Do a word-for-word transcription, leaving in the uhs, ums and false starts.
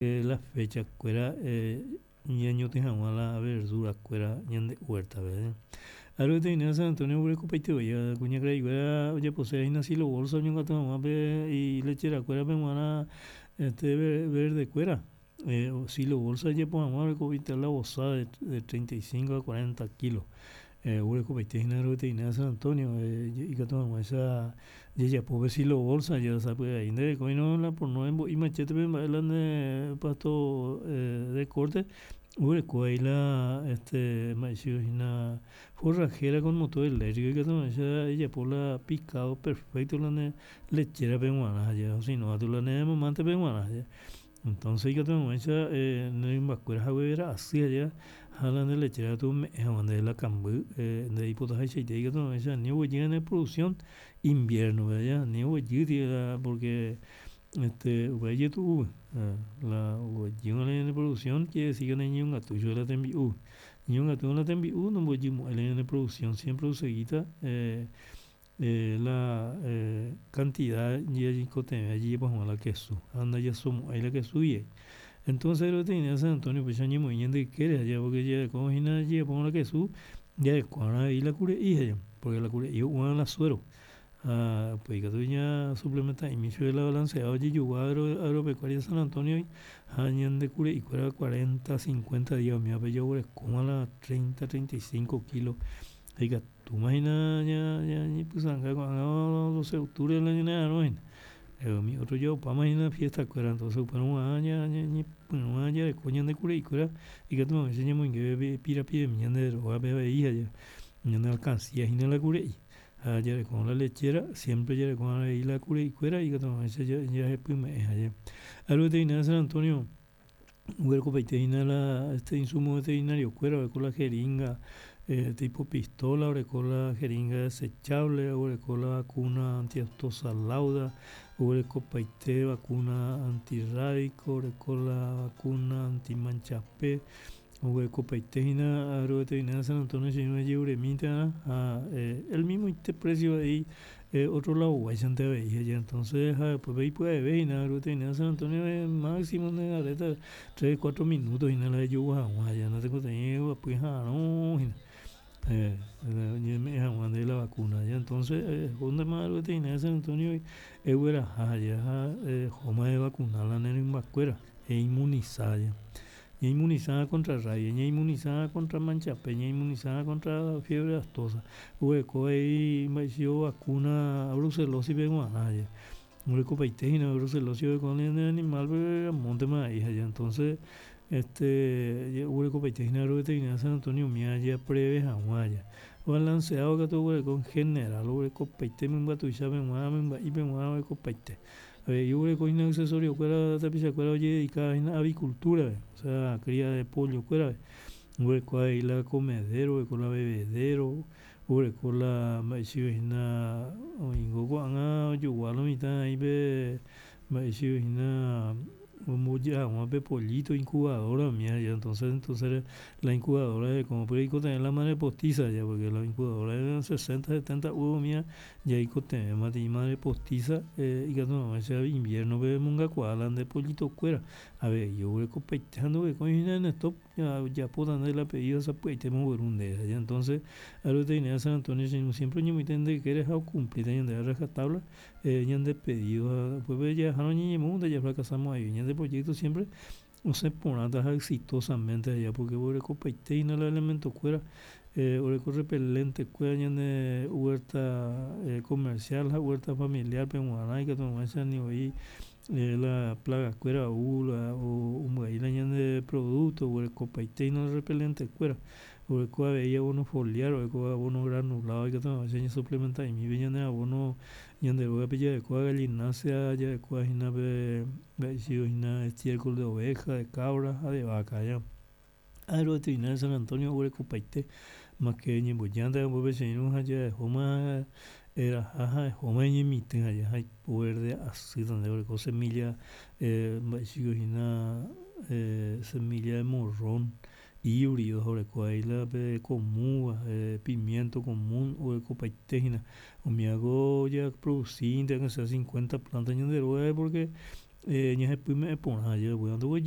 La fecha kuéra ñañotỹ hag̃ua la verdura kuéra ñande huerta-pe. Agroveterinaria San Antonio oguerekopaitevoi kuñakaraikuéra ojaposéva silo bolsa oñongatu hag̃ua pe ilecherakuérape g̃uarã este verde-kuéra silo bolsa ojapo hag̃ua oreko la vosa de treinta y cinco a cuarenta kilo oguerekopaite hína agroveterinaria San Antonio ikatu hag̃uáicha jajapo pe silo bolsa sapy'ai nderekóirõ la pono embo'i machétepe mba'e la nde pasto de corte oguereko avei la este mba'eichagua hína forrajera con motor eléctrico ikatu hag̃uáicha ejapo la picado perfecto la nde lecherape g̃uarã ha sino katu la ne mamántepe g̃uarã entonces ikatu hag̃uáicha ne rymbakuéra haguevera asy ajéa ha la nde lechera katu ome'ẽ hag̃ua ndéve la kamby nde reipotahaichaite ikatu hag̃uáicha ani oguejy ñane producción invierno-pe aja ani oguejýti la porque este upéva ijetu'u la oguejýrõ la ñane producción quiere decir que nañañongatúi chupe la tembi'u ñañongatúrõ la tembi'u nomboguejymo'ãi la ñane producción siempre oseguíta la cantidad ñaikotevẽva jajapo hag̃ua la kesu ha ndajasomo'ãi la kesúgui entonces agroveterinaria San Antonio upéicha oñemoĩ ñande ykére aja porque jareko hína jajapórõ la kesu jareko'arã avei la kure'i he'i porque la kure'i ho'u'arã la suero ha upéi katu ñasuplementa'imi chupe la balanceado ojejogua agropecuaria San Antonio-gui ha ñande kure'ikuéra cuarenta, cincuenta día umívape jaguerekóma la treinta, treinta y cinco kilo ha ikatúma hína ñañepysãnga ko'ág̃a doce de octubre la ñanera'ãrõ hína umi otro ya opáma hína fiesta-kuéra entonces upérõ g̃uarã ñañepyrũma jareko ñande kure'ikuéra ikatu hag̃uáicha ñamoinge pirapiremi ñande rógape avei ha ñane alcancía hína la kure'i ha jarekórõ la lechera siempre jareko'arã avei la kure'ikuéra ikatu hag̃uáicha jahepyme'ẽ aje. Agroveterinaria San Antonio oguerekopaite hína la este insumo veterinario-kuéra oreko la jeringa tipo pistola, oreko la jeringa desechable, oguereko la vacuna antiaftosa lauda, oguerekopaite vacuna antirrábico, oreko la vacuna antimanchape, oguerekopaite hína agroveterinaria San Antonio che irũ ejeruremíntearã ha el mismoite precio avei otro ladoguáichante avei aja entonces ha upépe ipya'eve hína agroveterinaria San Antonio máximo nde tres cuatro minutos hína la ejogua hag̃ua aja natekotevẽi eguapy eha'ãrõ hína oñeme'ẽ hag̃ua ndéve la vacuna entonces ehóntema agroveterinaria San Antonio egueraha aja ha ehóma evacuna la ne rymbakuéra einmunisa aja ñainmunisa contra rabia, ñainmunisa contra manchape, ñainmunisa contra fiebre aftosa, oguereko avei mba'eichagua vacuna brucelosis-pe g̃uarã aja oguerekopaite hína brucelosis oreko ñane animal-pe amóntema vai aja entonces este oguerekopaite hína agroveterinaria San Antonio umíva japreve hag̃ua aja balanceado katu oguereko en general oguerekopaite mymba tuichápe g̃uarã mymba'ípe g̃uarã oguerekopaite avei oguereko hína accesorio-kuéra tapichakuéra ojededicáva hína avicultura-pe osea cria de pollo-kuérape oguereko avei la comedero, oguereko la bebedero, oguereko la mba'eichagua hína oĩngo ko'ág̃a ojogua lo mitã oĩ pe mba'eichagua hína ombojy hag̃ua pe pollito incubadora umíva entonces entonces la incubadora oikotevẽ la madre postiza porque la incubadora sesenta, setenta huevo umíva jaikotevẽma madre postiza ikatu hag̃uáicha invierno-pe emongakuaa la nde pollito-kuéra avei oguerekopaite ha ndoguerekói hína en stock ojapóta ndéve la pedido sapy'aitéma ogueru ndéve entonces agroveterinaria San Antonio che irũ siempre oñemoĩta ñande ykére ha ocumplíta ñandéve a rajatabla ñande pedido ha upépe jajahárõ ñañemu ndajafracasamo'ãi ñande proyecto siempre osẽ porãta ha exitosamente aja porque oguerekopaite hína la elemento-kuéra oreko repelente-kuéra ñane huerta comercial ha huerta familiar-pe g̃uarã ikatu hag̃uáicha anivoi la plaga-kuéra ou la ombyai la ñande producto oguerekopaite hína repelente-kuéra oguereko avei abono foliar, oreko abono granulado ikatu hag̃uáicha ñasuplementa'imi pe ñane abono ñande rógape jarekóva gallinácea jarekóva hína pe mba'eichagua hína estiércol de oveja, de cabra ha de vaca aja. Agroveterinaria San Antonio oguerekopaite máhke ñembojánte ambue che irũ ha jahóma eraha ha ehóma eñemitỹ aja ha ipo verde asýta ndéve oreko semilla mba'eichagua hína semilla de morrón híbrido oreko avei la pe comúva pimiento común oguerekopaite hína umívako japroducínte aunque sea cincuenta planta ñande rógape porque Ñahepyme'ẽ porã ajépa upéva ndoguejýi.